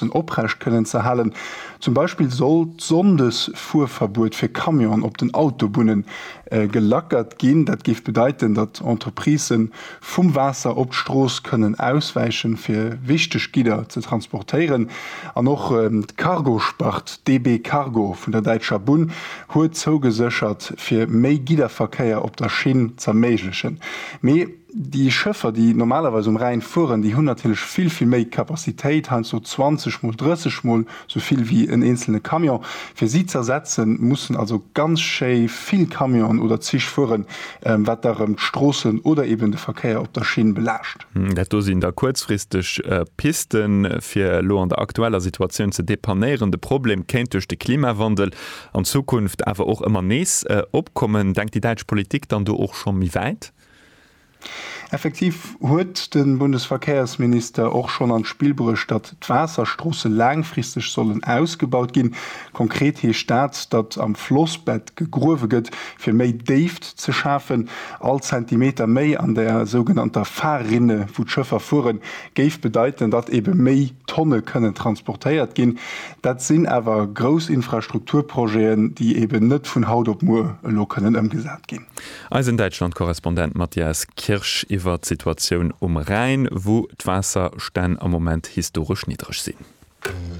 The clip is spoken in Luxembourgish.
bëssen oprecht kënnen ze halen. Zum Beispill soll d'Sonndesfuerverbuet fir Camionen op den Autobunne gelackert ginn. Dat géif bedeiten, datt Entreprisë vum Waasser op d'Strooss kënnen auswäichen, fir wichteg Gidder ze transportéieren. An och d'Cargospart DB Cargo vun der däitscher Bunn huet zougeséchert, fir méi Gidderverkéier op der Schinn z'erméiglechen. Mee déi Schëffer, déi normalerweis um Rhäin fueren, déi hunn natierlech vill, vill méi Capacitéit, heiansdo 20 mol, 30 mol sou vill wéi en eenzelne Camion. Fir si z'ersetzen, mussen also ganz schéi vill Camionen oder Zich fueren, wat da rëm d'Stroossen oder eben de Verkéier op der Schinn belaascht. Dat do sinn da kuerzfristeg Pisten, fir elo an der aktueller Situatioun ze depannéieren. De Problem kéint duerch de Klimawandel an Zukunft awer och ëmmer nees opkommen. Denkt déi däitsch Politik dann do och scho méi wäit? Effektiv huet de Bundesverkehrsminister och schonn an d'Spill bruecht, datt d'Waasserstroosse laangfristeg sollen ausgebaut ginn. Konkret heescht dat, datt am Flossbett gegruewe gëtt, fir méi Déift ze schafen. All Zentimeter méi an der sougenannter Fahrrinne, wou d'Schëffer fueren, géif bedeiten, datt ebe méi Tonne kënnen transportéiert ginn. Dat sinn awer grouss Infrastrukturprojeten, déi eben net vun haut op muer elo kënnen ëmgesat ginn. Eisen Däitschland-Korrespondent Matthias Kirsch iwwer d'Situatioun um Rhäin, wou d'Waasserstänn am Moment historesch niddreg sinn.